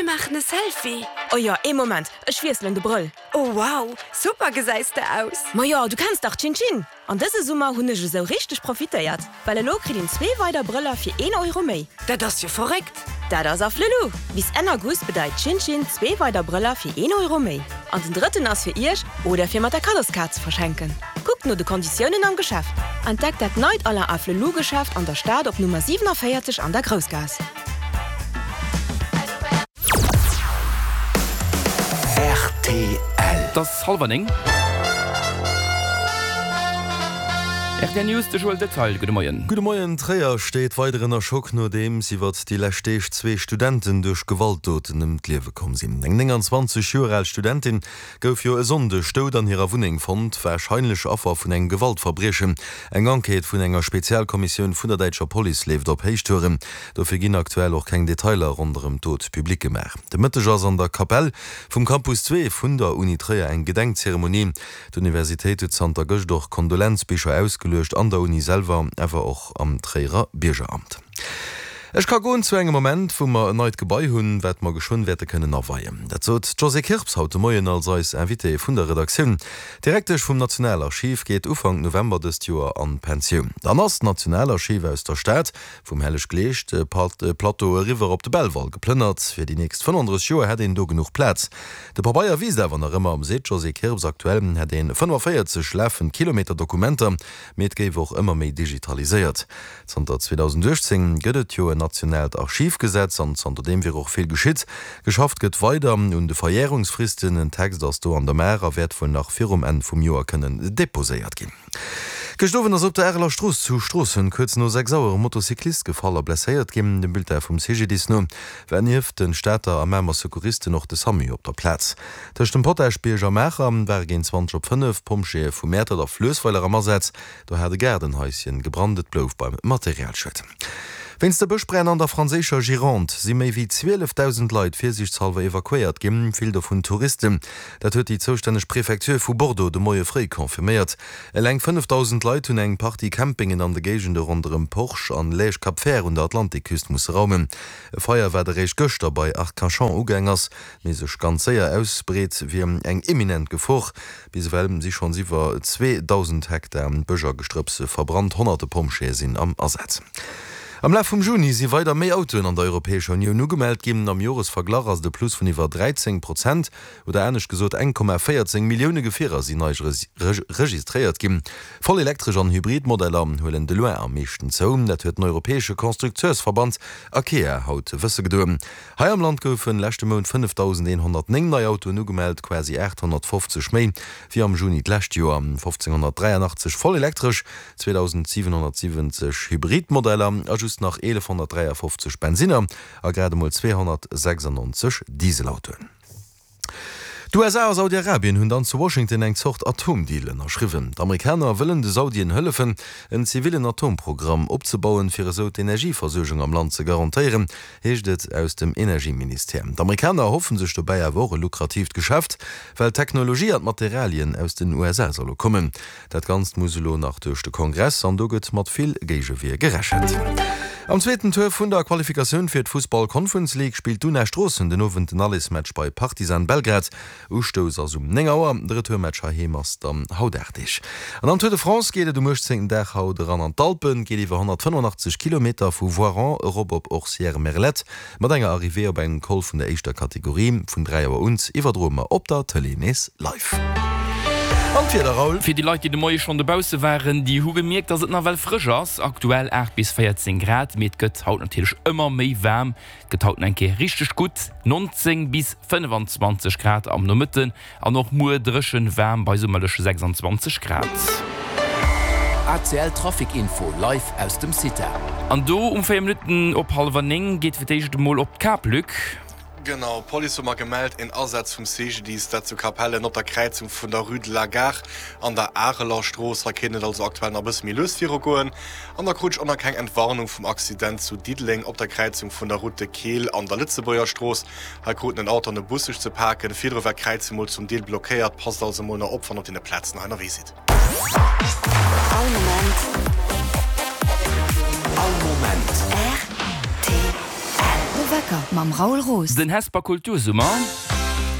maachen e Selfie! Oh jo, ee Moment, ech wiesselen de Brëll. Oh wow, super gesäis de aus! Majo, du kenns dach Chin Chin! An dëse Summer hunn ech esou richteg profitéiert, well elo kritt een zwee weider Brëller fir een Euro méi. Dat ass jo verréckt! Dat ass Afflelou! Bis Enn August bedeit Chin Chin zwee weider Brëller fir een Euro méi. An den drëtten ass fir iech oder fir mat der Kaddoskaart ze verschenken. Kuckt no de Konditiounen am Geschäft. Entdeckt dat neit Alain Afflelou Geschäft an der Stad op Nummer 47 an der Groussgaass. Rtl. Et ass hallwer 9. Rtl News, de Joël Detaille, gudde Moien. Gudde Moien. Tréier steet weider ënner Schock, nodeems iwwert déi lescht Deeg zwee Studenten duerch Gewaltdoten ëm d'Liewe komm sinn. Eng 29 Joer al Studentin gouf jo e Sonndeg dout an hirer Wunneng fonnt, warscheinlech Affer vun engem Gewaltverbriechen. Eng Enquête vun enger Spezialkommissioun vun der däitscher Police leeft op Héichtouren. Dofir ginn aktuell och keng Detailer ronderëm d'Dot public gemaach. De Mëtteg ass an der Kapell vum Campus 2 vun der Uni Tréier eng Gedenkzeremonie. D'Universitéit huet zanter gëscht och Kondolenzbicher ausgeluecht, an der Uni selwer, awer och am Tréierer Biergeramt. Ech ka goen zu engem Moment, wou mer en neit Gebai hunn, wat mer geschwënn wäerte kënnen aweien. Dat sot d'Josée Kirps haut de Moien als eis Invitée vun der Redaktioun. D'Direktesch vum Nationalarchiv geet Ufank November dëst Joer an d'Pensioun. Dann ass d'Nationalarchiv aus der Stad Vum Helleg-Gleescht-Plateau eriwwer op de Belval geplënnert. Fir déi nächst 35 Joer hätt een do genuch Plaz. De Pabeier wiisst awer nach ëmmer, seet d'Josée Kirps. Aktuell hätt een 45 lafend Kilometer Dokumenter, mee et géif och ëmmer méi digitaliséiert. Zanter 2018 gëtt et jo en nationaalt Archivgesetz an zanterdeem wier och vill geschitt. Geschafft gëtt weider un de Verjärungsfristen. En Text ass do an der Maach a wäert wuel nach virum Enn vum Joer kënnen deposéiert ginn. Gëscht Owend ass op der Areler Strooss zu Stroossen kuerz no 6 Auer e Motocyclist gefall a blesséiert ginn. Dem Bulletin vum CGDIS no war nieft de Stater a Mamer Secouristen och de Samu op der Plaz. Tëscht dem Potaschbierg a Maacher ware géint 20 op 5 d'Pompjeeë vu Mäertert a Fluessweiler am Asaz. Do hat e Gaardenhaischen gebrannt, et blouf beim Materialschued. Wéinst de Bëschbränn an der franséischer Gironde si méi wéi 12.000 Leit virsiichtshalwer evakuéiert ginn, vill dovun Touristen. Dat huet déi zoustänneg Prefecture vu Bordeaux de Moie fréi confirméiert. Eleng 5.000 Leit hunn eng Partie Campingen an de Géigende ronderëm Porge an Lège-Cap-Vert un der Atlantikküst musse raumen. E Feier, wat eréischt gëschter bei Arcachon ugaang ass, mee sech ganz séier ausbreet, wier eng imminent Gefor. Bis ewell si schonns iwwer 2.000 Hektar Bësch a Gestrëpps verbrannt, honnerte Pompjeeë sinn am Asaz. Am Laf vum Juni si weider méi Autoen an der Europäescher Unioun ugemellt ginn. Am Joresverglach ass et e Plus vun iwwer 13 Prozent. Oder anescht gesot, 1,14 Millioune Gefierer sinn nei registréiert ginn. Voll elektresch an hybrid Modeller huelen de loin am meeschten zou. Dat huet den europäesche Constructeursverband Acea haut wësse gedoen. Hei am Land goufen leschte Mount 5.109 nei Autoen ugemellt, quasi 850 méi wéi am Juni d'lescht Joer. 1.583 voll elektresch, 2.770 hybrid Modeller a just nach 1.153 Bensinner a grad emol 296 Dieselautoen. D'USA a Saudi-Arabien hunn dann zu Washington eng Zort Atomdeal ënnerschriwwen. D'Amerikaner wëllen de Saudien hëllefen, en zivillen Atomprogramm opzebauen, fir esou d'Energieversuergung am Land ze garantéieren, heescht et aus dem Energieministère. D'Amerikaner erhoffen sech dobäi awer och e lukratiivt Geschäft, well d'Technologie an d'Materialien aus den USA solle kommen. Dat Ganzt muss elo nach duerch de Kongress an do gëtt mat vill Géigewier gerechent. Am zweeten Tour vun der Qualifikatioun fir d'Fussball Conference League spillt d'Una Stroossen den Owend den Allesmatch bei Partizan Belgrad. Ustouss ass um 9 Auer, de Retourmatch heiheem ass dann haut 8 Deeg. An am Tour de France geet et um 18. Dag haut eran an d'Alpen, geet iwwer 185 Kilometer vu Voiron erop op Orcières-Merlette. Mat enger Arrivée op engem Col vun der éischter Kategorie. Vun 3 Auer un iwwerdroe mer op der Tëlee nees live. An d'Wieder, Raoul? Fir déi Leit, déi de Moie schonn dobausse waren, déi hu gemierkt, dass et nawell frësch ass. Aktuell 8 bis 14 Grad, mee et gëtt haut natierlech ëmmer méi waarm. Et gëtt haut nach eng Kéier richteg gutt, 19 bis 25 Grad am Nomëtten. An och muer dréchen waarm bei summerleche 26 Grad. ACL Trafic Info live aus dem CITA. An do um 4 Minutten op hallwer 9 geet fir d'éischt emol op d'Kap, Luc. Genau, d'Police huet mer gemellt, een Asaz vum CGDIS, dat zu Capellen op der Kräizung vun der Rue de la Gare an der Areler Strooss. Hei kéint et also aktuell nach e bësse méi lues virugoen. An da krut ech och nach keng Entwarnung vum Accident zu Diddeleng op der Kräizung vun der Route de Keel an der Lëtzebuerger Strooss. Hei kruten en Auto an e Bus sech ze paken. Virdru war d'Kräizung mol zum Deel blockéiert. Passt also mol nach op, wann op deene Plazen hei ënnerwee sidd. All Moment. All Moment. Rtl. Becker mam Raoul Roos. Den Hesper Kultursummer,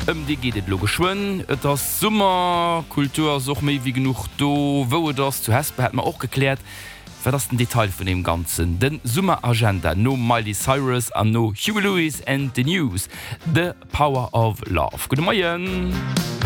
ëm dee geet et elo geschwënn. Et ass Summer, Kultur ass och méi wéi genuch do wou et ass. Zu Hesper hätte mer och gekläert, wat ass den Detail vun deem Ganzen. Den Summeragenda nom Miley Cyrus an no Huey Lewis and the News, The Power of Love. Gudde Moien.